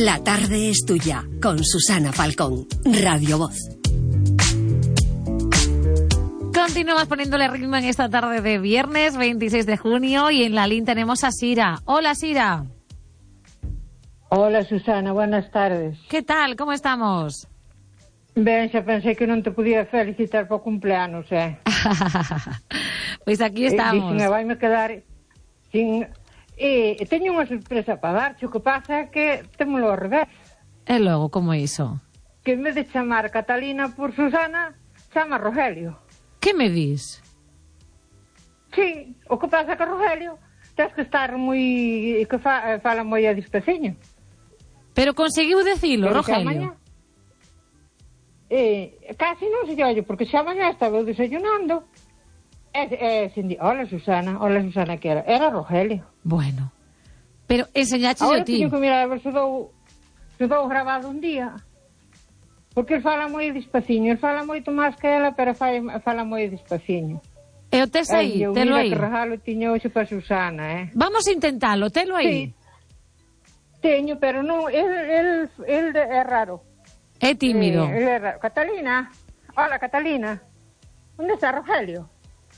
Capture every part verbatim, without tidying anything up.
La tarde es tuya, con Susana Falcón, Radio Voz. Continuamos poniéndole ritmo en esta tarde de viernes veintiséis de junio y en la línea tenemos a Sira. Hola, Sira. Hola, Susana, buenas tardes. ¿Qué tal? ¿Cómo estamos? Ben, xa pensei que non te podía felicitar por cumpleanos, eh? Pois aquí estamos. E dixen, vai me quedar sin... E teño unha sorpresa para dar, o que pasa é que témolo ao revés. E logo, como iso? Que en vez de chamar Catalina por Susana, chama Rogelio. Que me dis? Sí, o que pasa que Rogelio tens que estar moi... que fa, fala moi a despeciño. Pero conseguiu decilo, Rogelio? Eh, casi non se ollo, porque xa mañá estaba desayunando e, e sin di, hola Susana, hola Susana, que era? Era Rogelio. Bueno, pero enseñache yo ti. Ahora teño que mirar a ver se dou, se dou grabado un día, porque ele fala moi despaciño, ele fala moito máis que ela, pero fala, fala moi despaciño. E o tes aí, eh, telo aí. Que regalo tiño hoxe para Susana, eh? Vamos a intentalo, telo aí. Sí, teño, pero non, el, el, el é raro. É tímido. Eh, é Catalina. Hola, Catalina. ¿Dónde está Rogelio?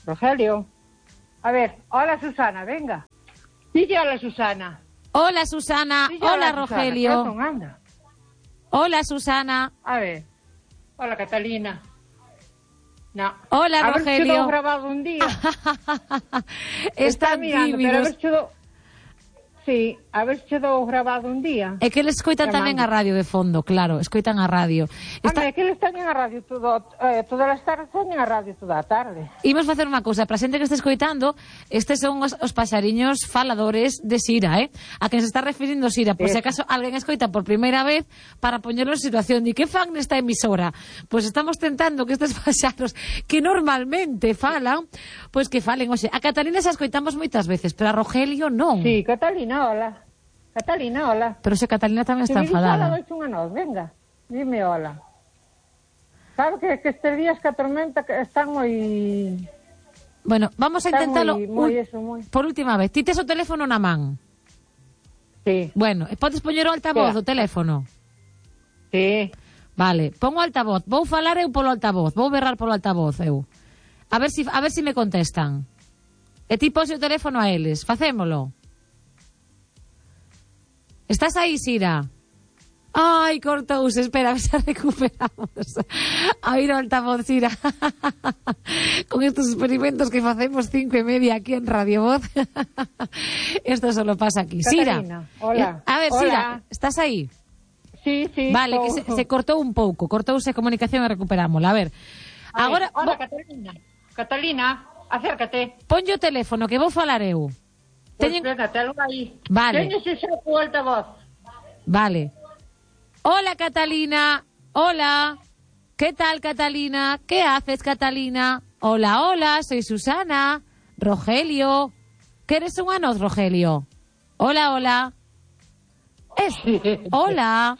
Rogelio. A ver, hola, Susana, venga. Dile hola, Susana. Hola, Susana. Dile, hola, hola, Rogelio. Susana. Anda. Hola, Susana. A ver. Hola, Catalina. No. Hola, a Rogelio. A ver si lo he grabado un día. Están mirando, tímidos. Pero a ver si lo... Sí, a ver se dou grabado un día. É que eles escoitan tamén a radio de fondo, claro, escoitan a radio. Está... Anda, é que eles teñen a radio todo, eh, todas as tardes, teñen a radio toda a tarde. Imos facer unha cousa, para a xente que este escoitando, estes son os, os paxariños faladores de Sira, eh? A quen se está referindo Sira, por se acaso alguén escoita por primeira vez, para poñerlo en situación de que fan nesta emisora. Pois pues estamos tentando que estes paxaros que normalmente falan, pois pues que falen, oxe, a Catalina xa escoitamos moitas veces, pero a Rogelio non. Sí, Catalina. Hola. Catalina, hola. Pero se Catalina tamén está enfadada. Hola, dois unha nos, venga. Dime hola. Sabe que, que estes días que a tormenta están moi... Bueno, vamos a intentalo moi, moi eso, moi... por última vez. Ti tes o teléfono na man? Sí. Bueno, e podes poñer o altavoz do teléfono? Sí. Vale, pon o altavoz. Vou falar eu polo altavoz. Vou berrar polo altavoz eu. A ver si, a ver si me contestan. E ti pose o teléfono a eles. Facémolo. Estás aí, Sira? Ai, cortouse, espera, se recuperamos. A ir ao altavoz, Sira. Con estos experimentos que facemos cinco e media aquí en Radio Voz. Esto solo pasa aquí. Catalina, Sira. hola. A ver, hola. Sira, estás aí? Sí, sí. Vale, tô... que se, se cortou un pouco, cortouse a comunicación e recuperámola. A ver, a agora... Ver, hola, Catalina. Catalina, acércate. Ponlle o teléfono, que vou falar eu. Pues Teñen... venga, telo aí. Vale. Teñes ese o altavoz. Vale. Hola, Catalina. Hola. ¿Qué tal, Catalina? ¿Qué haces, Catalina? Hola, hola, soy Susana. Rogelio. ¿Qué eres un anoz, Rogelio? Hola, hola. Es... Hola.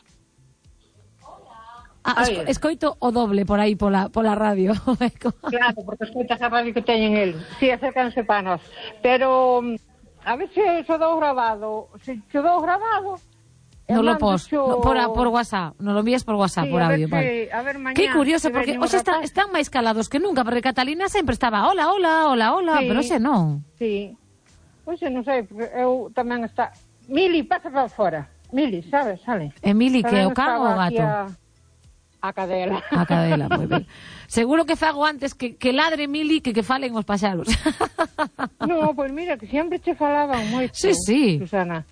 Ah, esco, escoito o doble por aí pola, pola radio. Claro, porque escoitas a radio que teñen el. Si, sí, acércanse para nós. Pero... A ver se se dou grabado. Se se dou grabado... No lo pos, no, por, por WhatsApp. No lo envías por WhatsApp, sí, por audio. A ver, vale. si, a ver mañá. Qué curioso, porque hoxe están, están máis calados que nunca, porque Catalina sempre estaba hola, hola, hola, hola, sí, pero hoxe non. Sí. Hoxe non sei, porque eu tamén está... Mili, pasa para fora. Mili, sabes, sale. E Mili, que é o can ou o gato? A... a cadela. A cadela, moi ben. Seguro que fago antes que, que ladre Mili que que falen os paxaros. No, pois pues mira, que sempre che falaban moito, sí, sí. Susana.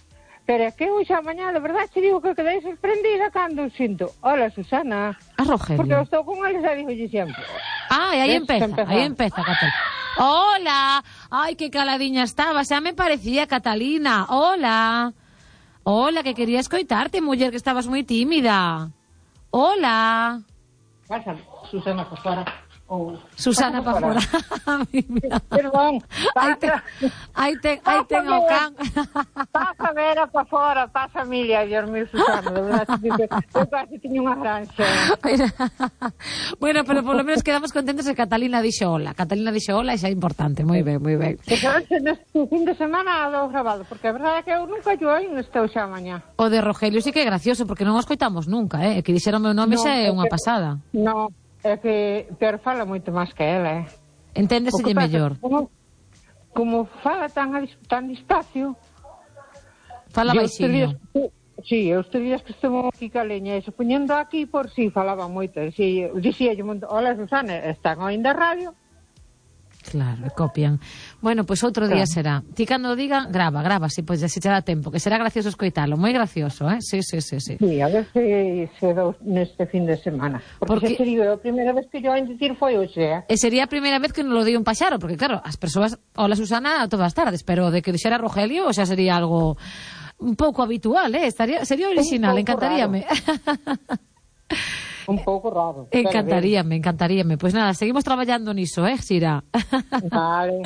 Pero é que hoxe a mañá, de verdade, te digo que quedei sorprendida cando sinto. Hola, Susana. A Rogelio. Porque eu estou con eles e digo sempre. Ah, e aí empeza, aí empeza, Catalina. Hola. Ai, que caladiña estaba, xa me parecía, Catalina. Hola. Hola, que quería escoitarte, muller, que estabas moi tímida. Hola. Pasa, Susana, por fora. Oh. Susana para fora. Perdón. Aí ten, aí ten, aí ten o can. Pasa Vera para fora, pasa Emilia, Dios mío, Susana, de verdad, eu casi tiño unha granxa. Bueno, pero por lo menos quedamos contentos que Catalina dixo hola. Catalina dixo hola e xa é importante, moi ben, moi ben. Que sabes, neste fin de semana do grabado, porque a verdade é que eu nunca yo aí estou xa mañá. O de Rogelio sí que é gracioso, porque non o escoitamos nunca, eh? Que dixeron o meu nome xa é unha pasada. No, é que Pedro fala moito máis que ela, eh? Enténdeselle mellor. Como, como fala tan, tan despacio... Fala baixiño. Sí, os días que estamos aquí caleña, e se poñendo aquí por si sí, falaba moito. Si, dicía yo, hola Susana, están oindo a radio? Claro, e copian. Bueno, pois pues outro día será. Ti cando diga, grava, grava, si, pois, pues, se te dá tempo, que será gracioso escoitalo, moi gracioso, eh? Sí, sí, sí, sí. Sí, a ver se, se dou neste fin de semana. Porque, porque... se sería a primeira vez que yo oín dicir foi hoxe, eh? E sería a primeira vez que non lo di un paxaro, porque claro, as persoas, hola Susana, todas as tardes, pero de que dixera Rogelio, xa sería algo un pouco habitual, eh? Estaría, sería original, encantaríame. Un pouco raro. Encantaríame, encantaríame. Pois pues nada, seguimos traballando niso, eh, Sira? Vale.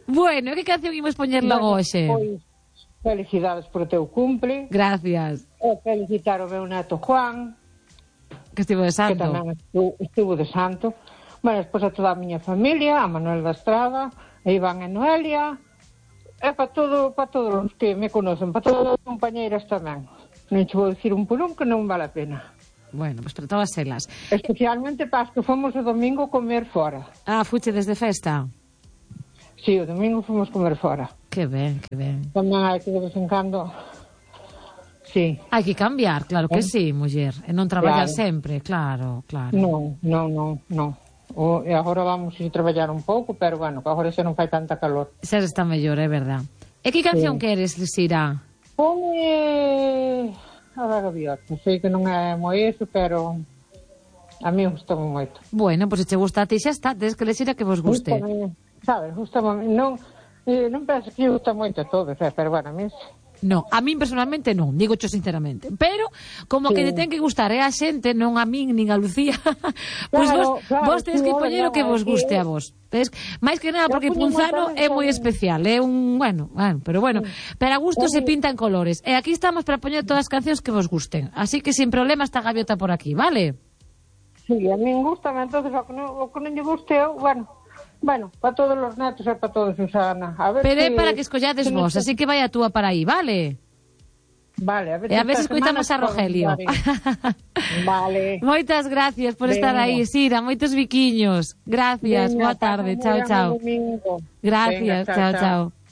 Bueno, que canción imos poñer logo hoxe? Pois, felicidades por o teu cumple. Gracias. E felicitar o meu neto Juan. Que estivo de santo. Que tamén estuvo, estuvo de santo. Bueno, despois a toda a miña familia, a Manuel da Estrada, a Iván e Noelia, e para todo, para todos os que me conocen, para todas as compañeiras tamén. Non che vou dicir un por un que non vale a pena. Bueno, pois pues para todas elas. Especialmente para as que fomos o domingo comer fora. Ah, fuche desde festa? Sí, o domingo fomos comer fora. Que ben, que ben. Tamén hai que de vez en cando... Sí. Hai que cambiar, claro que eh? sí, muller. E non traballar claro. sempre, claro, claro. Non, non, non, non. O, e agora vamos a traballar un pouco, pero bueno, que agora xa non fai tanta calor. Xa está mellor, é verdad. E que canción sí. queres, Sira? Pome... A da gaviota, sei que non é moi eso, pero a mí gustame moito. Bueno, pois pues, se che gusta a ti xa está, tens que decir a que vos guste. Gustame, sabes, gustame, non, eh, non penso que gusta moito a todos, eh, pero bueno, a mí... No, a min personalmente non, digo cho sinceramente. Pero, como sí. que lle ten que gustar é a xente, non a min, nin a Lucía, pois pues claro, vos, claro, vos tens sí, que poñer o que vos guste a vos. Tens, máis que nada, porque Punzano é moi especial, é un, bueno, bueno, pero bueno, sí. pero a gusto sí. se pinta en colores. E aquí estamos para poñer todas as cancións que vos gusten. Así que sin problema está a gaviota por aquí, vale? Sí, a min gusta, entonces o que non, o que non lle guste, bueno... Bueno, para todos os netos e para todos, Susana. A ver pero é que... para que escollades vos, así que vai a túa para aí, vale? Vale, a ver e a ver se escoitamos a Rogelio. Vale. Moitas gracias por Venga. estar aí, Sira, moitos biquiños. Gracias, Venga, boa tarde, chao, chao. Gracias, Venga, chao, chao. chao.